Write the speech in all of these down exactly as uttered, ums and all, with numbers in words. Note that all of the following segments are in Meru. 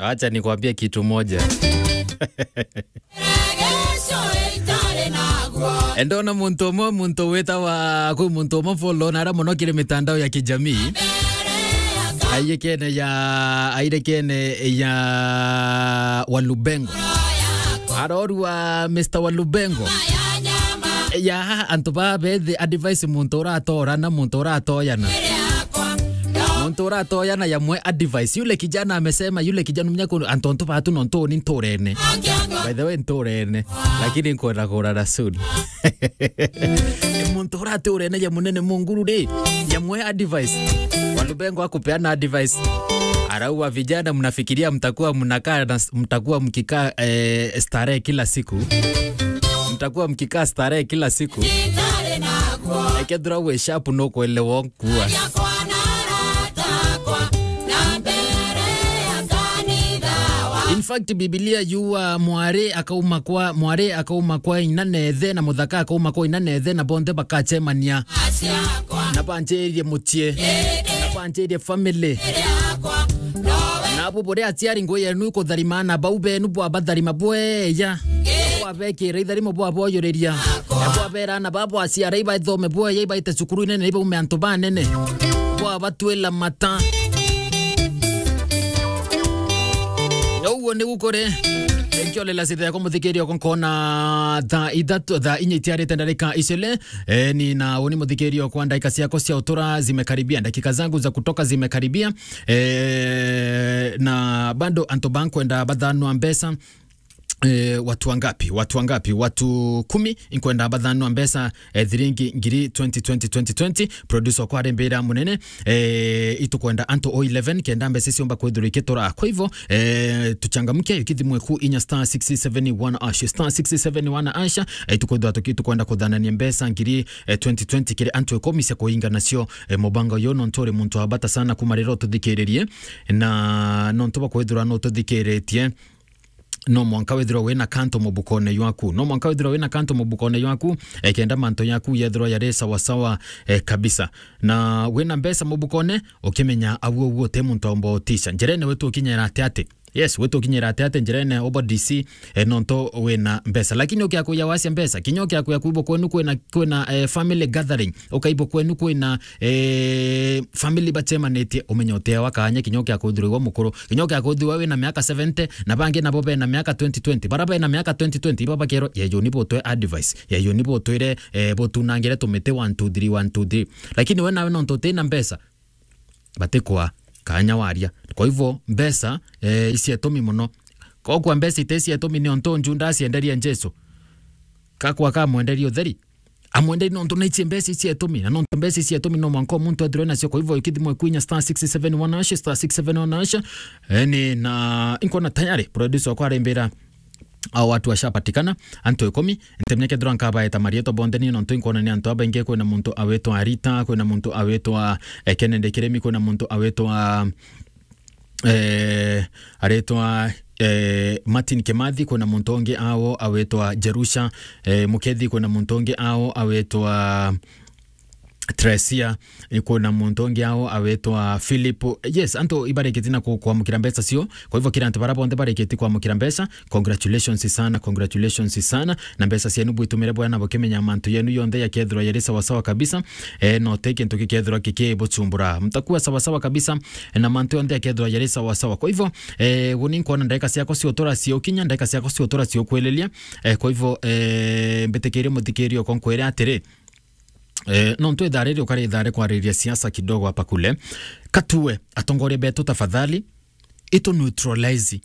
Acha nikwambie kitu moja. Ndona muntu umwe, muntu witawa, kwi muntu umwe follow na ara muno kiri mitandao ya kijamii. Aiyekene ya, aiyekene ya Walubengo. Arorua Mister Walubengo. Ya, antu ba bethi advice muntu uratora na muntu uratoyana. Muntu uratoyana yamwe advice. Yule kijana amesema, yule kijana mnyako, antu, antu batu no ntuni nturene. By the way, nturene. Lakini nkwenda kurara soon. Muntu uraturene ya munene munguru ri, yamwe advice. Walubengo akupeana advice. Arauga, vijana, mnafikiria mtakuwa mnakaa na s-, mtakuwa mkikaa, eh, starehe kila siku? Mtakuwa mkikaa starehe kila siku? Ekethira wi sharp, nukwelewa kuwa. In fact, Biblia yuga mwari akauma kwa, mwari akauma kwa ina na ithe, na muthaka akauma kwa ina na ithe, na bonthe bakachemania. Na banjirie mucii. Na banjirie family. Na abu buria aciari ngui yenu ikutharima, na bau benu bwabatharima bweya. Bwabekira itharimo bwaboyuriria. Na bwabera na babo aciara ibaithome bweya, ibaite cukuru inene, ibaume antu banene. Bwabatwila mata. Uguo nigu kuri. Nkiolela sitha yako muthikiria uko nkona thaa ithatu, thaa inya itiarite ndarika icele. Eh, ni na uni muthikiria kwa ndaika ciako cia utura zimekaribia, dakika zangu za kutoka zimekaribia. Eh, na bado antu bankwenda bathanwa mbeca. Eh, watu wangapi? Watu wangapi? Watu kumi inkwenda bathanwa mbeca, eh, thiringi ngiri twenty, twenty, twenty, twenty. Producer kwa rembera munene, eh, itukwenda antu o eleven kenda mbeca ciomba kwithirwa ikitura. Kwa hivyo, eh, tuchangamke, ukithimwe ku inya star six seven one hash, star six seven one hash, eh, itukwenda tuki-, itukwenda kuthanania mbeca ngiri, eh, twenty twenty kiri antu ikumi cia kuinga nacio, eh, mubango uyu nontu uri muntu wa bata sana kuma riro tuthikiririe, na nontu bakwithirwa no tuthikiritie. No mwanka withirwa wina kanto mubukone ywaku. No mwanka withirwa wina kanto mubukone ywaku, eh, kenda manto yaku yethirwa yari sawa sawa, eh, kabisa. Na wina mbeca mubukone, ukimenya aguo guo te muntu omba utisha. Njirene wetu ukinyera ati ati. Yes, wetu ukinyera ati ati njirene obo D C, eh, nonto wina mbeca. Lakini ukia kuya wacia mbeca, kinya ukia kuya kuibo kwenu kwina, kwina, eh, family gathering. Ukaibo kwenu kwina, eh, family bachemanitie, umenye uteawa kanya kinya ukia kuthirwa mukuru. Kinya ukia kuthirwa wina miaka seventy, na bangi nabo bena miaka twenty twenty. Bara bena miaka twenty twenty, ibo bakerwa, "Yeyuni butwe advice. Yeyuni butwire, eh, butunangire tumiti one, two, three, one, two, three." Lakini we nawe nontu utina mbeca, batikwa kanya waria. Kwa hivyo, mbeca, eh, icietumi muno. Kokwa mbeca ite icietumi ni ontu Judas enderie Jesu. Kakwa kamwenderie utheri. Amwenderi nontu naichie mbeca ici etumi, na nontu mbeca ici etumi no mwanka muntu ethirwe nacio. Kwa hivyo, ikithimwe kwinya star six seven one hash, star six seven one hash. Eni, na inkona tayari producer wakwa arembera, au watu washapatikana, antu ikumi. Ntemenya kethirwa nkabaeta marietwa bonthe ni nontu inkona ni antu abaingi, kwina muntu awetwa Rita, kwina muntu awetwa, eh, Kennedy Kiremi, kwina muntu awetwa eh, aretwa, eh, Martin Kimathi, kwina muntu ungi ao awetwa Jerusha, eh, Mukethi, kwina muntu ungi ao awetwa Tresia, eh, kwina muntu ungi ao awetwa Philip. Yes, antu ibarikiti na ku-, kwamukira mbeca cio. Kwa hivyo kira antu bara bonthe barikiti kwamukira mbeca, congratulations sana, congratulations sana. Na mbeca cienu bwitumire bwega na bukimenya mantu yenu yonthe yakethirwa yari sawa sawa kabisa. Eh, no te kintu gikethirwa gikibuchumbura. Mtakuwa sawa sawa kabisa, eh, na mantu yonthe yakethirwa yari sawa sawa. Kwa hivyo, eh, guni nkona ndagika ciakwa cia utura ciukinya, ndagika ciakwa cia utura ciukwililia. Eh, kwa hivyo, eh, mbitikirie muthikiria uko nkwire atiri, eh, nontu ithaa riri ukari ithaa ri kwaririria siasa kidogo hapa kule. Katue atongoria betu tafadhali, itu neutralize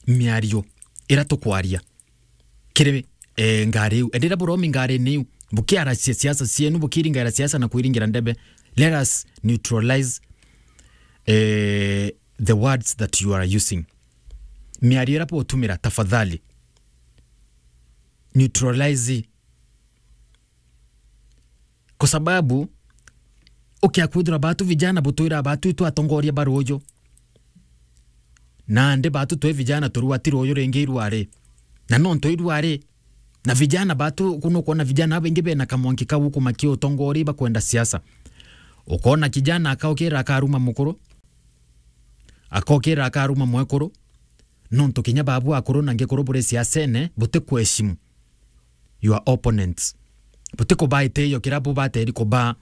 miario ira tukwaria kiri, eh, ngari iu. Endera buromi ngari-ini iu. Bukiaracia siasa cienu, bukiringaira siasa na kwiringira ndebe. Let us neutralize, eh, the words that you are using. Miario ira butumira, tafadhali, neutralize. Kwa sababu, ukia kwithirwa batu vijana butwira batu itwe atongoria ba ruuju. Nandi batu twi vijana turua ti ruuju ringi irua ri. Na nontu irua ri. Na vijana batu, kuno ukwona vijana babaingi bena kamwanki kau guku makiutongoria bakwenda siasa. Ukona kijana akaukira akaruma mukuru. Akaukira akaruma mwekuru. Nontu kinya babu akuru na ngikuru buri siasene, butikuheshimu your opponents. Butikubaa itio kiria bubateri kubaa.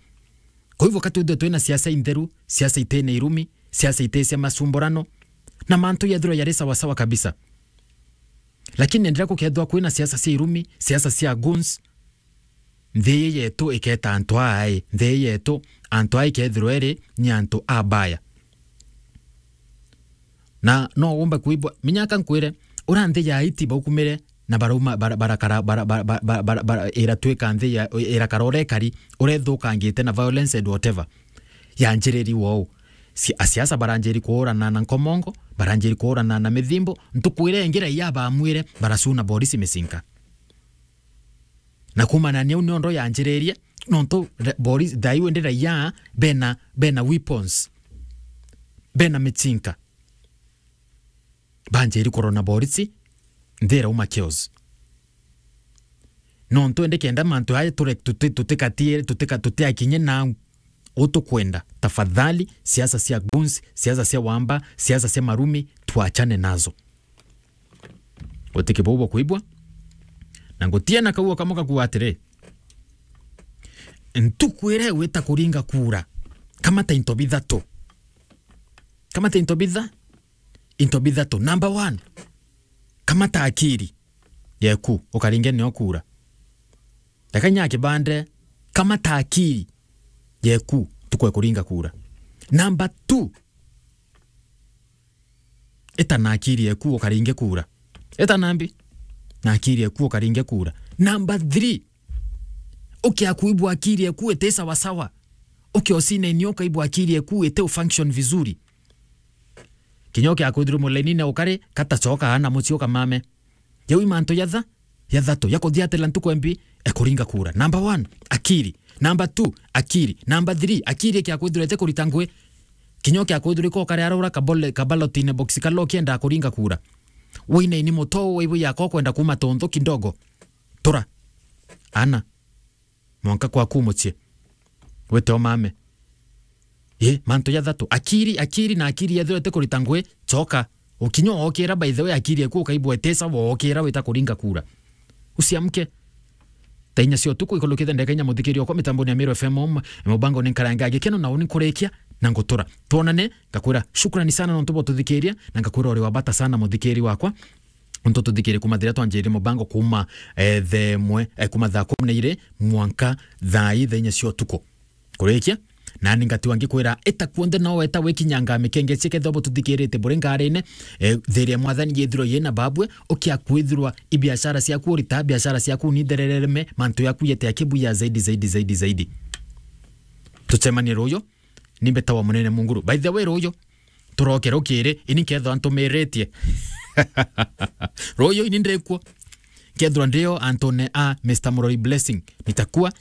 Kwa hivyo, ka twithwe twina siasa intheru, siasa itena irumi, siasa ite cia macumburano, na mantu yethirwa yari sawasawa kabisa. Lakini enderea gukethirwa kwina siasa cia irumi, siasa cia goons, nthi ii yetu iketa antu aa, nthi ii yetu, antu aa ikethirwa iri ni antu abaya. Na no umbe kuibwa, minyaka nkwire, ura nthi ya Haiti baukumire na barauma, bara-, barakara, bara-, bara-, bara-, bara-, bara-, bara-, iratwika nthi ya, irakara urekari, urethukangite na violence and whatever. Yanjiriri wou. Si-, asiasa baranjiri kuurana na nkomongo, baranjiri kuurana na mithimbo, ntuku iria ingi raia bamwire, baracuna borisi micinka. Na kuumana niu niondo yanjiririe, nontu ra-, borisi, thaiu indi raia bena, bena weapons, bena micinka. Banjiri kurona borisi, nthi irauma chaos. Nontu indi kenda mantu aya ture-, tuti-, tutikatie-, tutika-, tutiakinye nau, utukwenda, tafadhali, siasa cia goons, siasa cia wamba, siasa cia marumi, tuachane nazo. Gutiki buu bukwibwa, na ngutiena kau o kamwe gakuuga atiri, ntuku iria igwita kuringa kura, kamata into bithatu. Kamata into bitha-, into bithatu. Number one, kamata akiri yeku, ukaringe nio kura. Reka nya kibande, kamata akiri yeku, ntuku ya kuringa kura. Number two, ita na akiri yeku, ukaringe kura. Ita nambi? Na akiri yeku, ukaringe kura. Number three, ukia kuibwa akiri yeku iti sawasawa. Ukia ucine-ini ukaibwa akiri yeku iti ufunction vizuri. Kinya ukia kwithirwa mulainine ukari, kata coka ana mucii ukamame. Jau i mantu jatha-, jathatu, ja kuthiatira ntuku embi, e kuringa kura. Number one, akiri. Number two, akiri. Number three, akiri ikia kwithirwa iti kurita ngui. Kinya ukia kwithirwa iko ukari ara ura kabole-, kabalotine box kala ukienda kuringa kura. Wine-ini muto, waibu yako kwenda kuma tontho kidogo. Tura. Ana. Mwanka kwaku mucii. Wite umame. Ii, mantu jathatu. Akiri, akiri na akiri yethirwa iti kurita ngui, coka. Ukinya ookira, by the way, akiri eku ukaibwa iti sawa, ookira wita kuringa kura. Usiamke. Thaa inya cia utuku, ikulukite ndagika inya, muthikiri okwa mitamboni ya Meru F M, mubango ni Nkarange ya Gikeno, na uni nkurikia na ngutura. Twonane, ngakwira shukrani sana nontu bwa ututhikiria, na ngakwira uri wa bata sana muthikiri wakwa. Untu tuthikirie kuma thiria twanjiririe mubango kuma, eh, thaa imwe, eh, kuma thaa kumi na iri mwanka thaa ii, thaa inya cia utuku. Kurikia, nani ngatiwa ngikwira, ita kuonthe no weta wikinyanga mikenge cia kethirwa bututhikirite buri ngarine, eh, thiria Mwathani yethirwa yina babwe, ukia kwithirwa i biashara ciaku urita, biashara ciaku ni therereme, mantu yaku yete ya kibuya zaidi, zaidi, zaidi, zaidi. Tucemanie ruyu. Ni mbetawa Munene Munguru. By the way, ruyu, turoke rukiri, ini nkethwa ntumiritie. Ruyu ini ndikuo. Nkethwa ndio antune a Mister Murori Blessing. Nitakuwa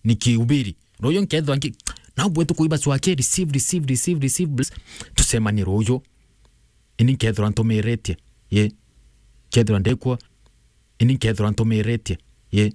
nikihubiri. Ruyu nkethwa nki-, na ubwe tukuiba swake, receive, receive, receive, receive, bless. Tucemanie ruyu. Ini nkethwa ntumiritie. Ye. Nkethwa ndikuo. Ini nkethwa ntumiritie. Ye.